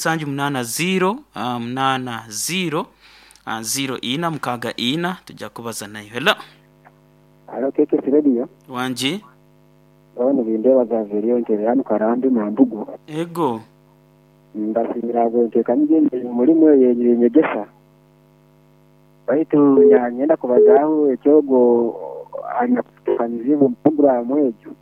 780 80 04 64 tujja kubaza nayo. Hello. Halo, KKS Radio. Wangi. Ono Bindeeba Xavier, nterera hanu Karambi Mambugu. Ego. Mbasiimira ahabw'enteekaniza egi mulimu ey'enyegesa. Baitu nyenda kubazaaho ekyogwo anyakuteekaniziibwe omu puroguraamu egyo.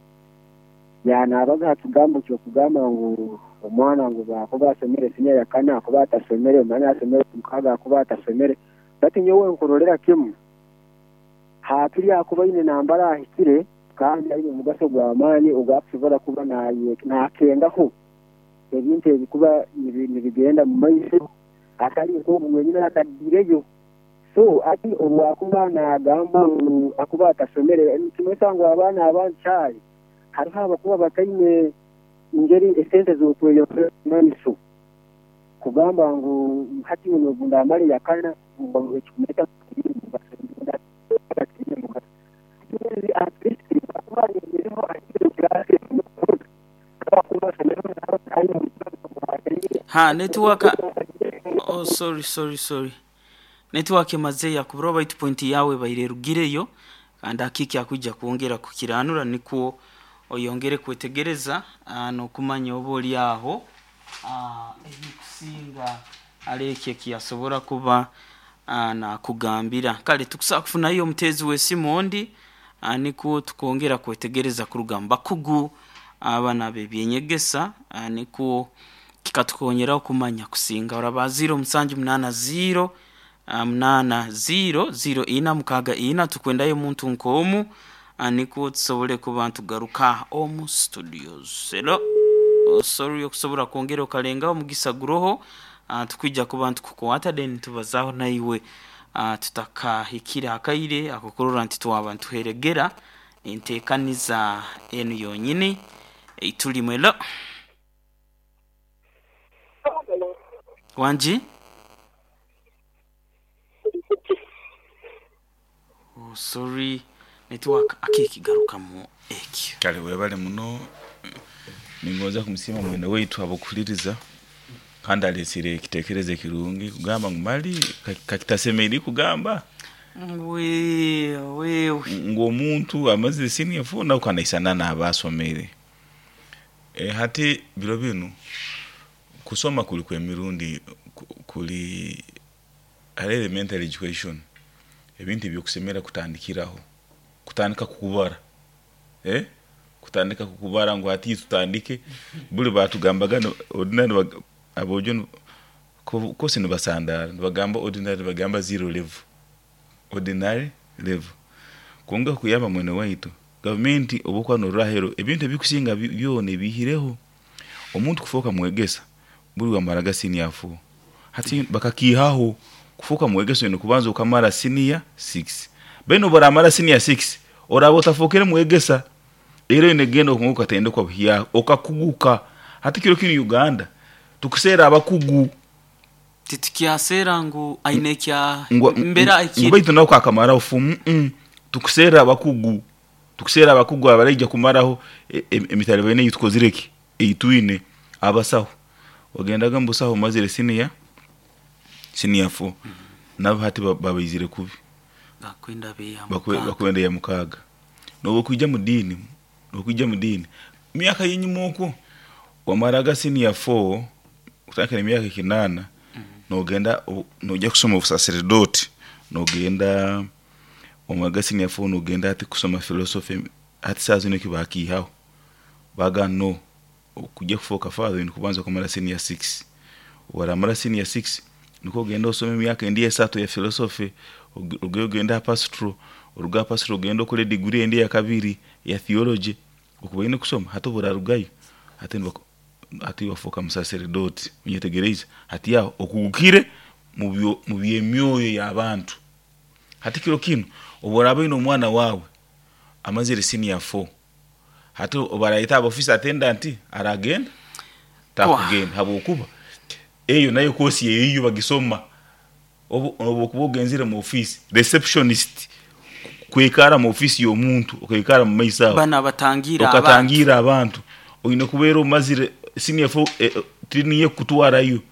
Yanaabaza ha kigambo ky'okugamba ngu omwana ngu bwakuba asomere siniya ya kana akuba atasomere, omwana asomere mukaaga akuba atasomere. Baitu nyowe nkurolera kimu, haakiri akuba aine nambara ahikire kandi aine omugaso gw'amaani ogw'akusobora kuba naakengaho ebintu ebikuba nibigenda mu maiso, atali nk'ogu wenyini atadiireyo. So hati obu akuba naagamba ngu akuba atasomere, nikimanyisa ngu abaana abandi caali hariho abakuba bataine ngeri esente z'okweyongera omu maiso, kugamba ngu hati obu ndaamara eya kana ekikumanyisa ngu mugaso. At least akuba ayongireho ahikire class. Akuba asomereho aine. Ha, network. Oh, sorry, sorry, sorry, network emaze yakubura, baitu point yawe baire erugireyo kandi akiki akwija kwongera kukiranura nikwo oyongere kwetegereza n'okumanya oba oli aho ebikusinga ali ekyo ekiyasobora kuba nakugambira. Kale tukusobola kufunayo omuteezi w'esimu ondi nikwo tukongera kwetegereza kuruga mu bakugu abana ab'ebyenyegesa, nikwo kikatukonyeraho kumanya kusinga. Oraba 0780 80 0464, tukwendayo omuntu nk'omu nikwo tusobole kuba ntugaruka omu studios. Hello. Oh, sorry, okusobora kwongera okalengaho omugisa guroho, tukwija kuba ntukukwata, then tubazaho naiwe tutakahikire akaire akokurora nti twaba ntuheregera enteekaniza enu yonyini eitulimu. Hello. Wangi. Oh, sorry, network akikigarukamu ekyo. Kale webale muno. Ningonza kumusiima mwene waitu habw'okuhuliriza, kandi aleesire ekiteekerezo ekirungi kugamba ngu mali kakitasemeriire kugamba wewe ngu omuntu amazire senior four nawe kanaisana naaba asomere. Hati biro binu kusoma kuli kw'emirundi, kuli hali elementary education, ebintu ebyokusemera kutandikiraho, kutandika kukubara, kutandika kukubara ngu hati tutandike. Buli batugambaga ordinary aboojo kosi nibasandara nibagamba ordinary, nibagamba zero level, ordinary level. Kwonka kuyamba mwene waitu, gavumenti obu okuba norora aheeru, ebintu ebikusinga byona ebiihireho omuntu kufooka mwegesa buli wamaraga senior four. Hati bakakiihaho, kufooka mwegesa oine kubanza okamara senior six. Then obu oramara senior six, oraaba otafookere mwegesa, era oine kugenda okatendekwa buhyaka okakuguka. Hati kiro kinu Uganda tukuseera abakugu. Titukyaseera ngu aine ekya ngu mbera ahikire. Baitu nawe kakamaraho fumu. Tukuseera abakugu, tukuseera abakugu abaraija kumaraho emitalibaine ei tukozire ki ei twine. Abasaho, ogendaga mu busaho omazire senior four, nabo hati babaizire kubi. Bakwenda beya mukaaga. Bakwenda ya mukaaga. Nobu okwija mu diini, okwija mu diini myaka yenyuma okwo wamaraga senior four, kutandika n'emyaka 8, nogenda noija kusoma obusaseredooti, nogenda omaraga senior four, nogenda hati kusoma philosophy. Hati saaha zinu eki bakiihaho, bagamba no okujya kufooka father oine kubanza kumara senior six. Waramara senior six, nikwo ogenda osome emyaka endi 3 ya philosophy, orugeyo ogende ha pastoral, oruge ha pastoral ogende okole degree endi eyakabiri ya theology okuba oine kusoma. Hati obu orarugayo, hati hati wafooka musaseredooti, onyetegereize? Hati aho okugukire mu by'emyoyo y'abantu. Hati kiro kinu obu oraaba oine omwana waawe amazire senior four, hati obu arayeta aba office attendant, aragenda? Takugenda, habwokuba eyo nayo kosi eyiyo bagisoma. Obu okuba ogenzire mu office, receptionist, kwikara mu office y'omuntu, okaikara mu maiso aho bana batangira abantu. Okatangira abantu, oine kubeera omazire senior four, training ekutwarayo.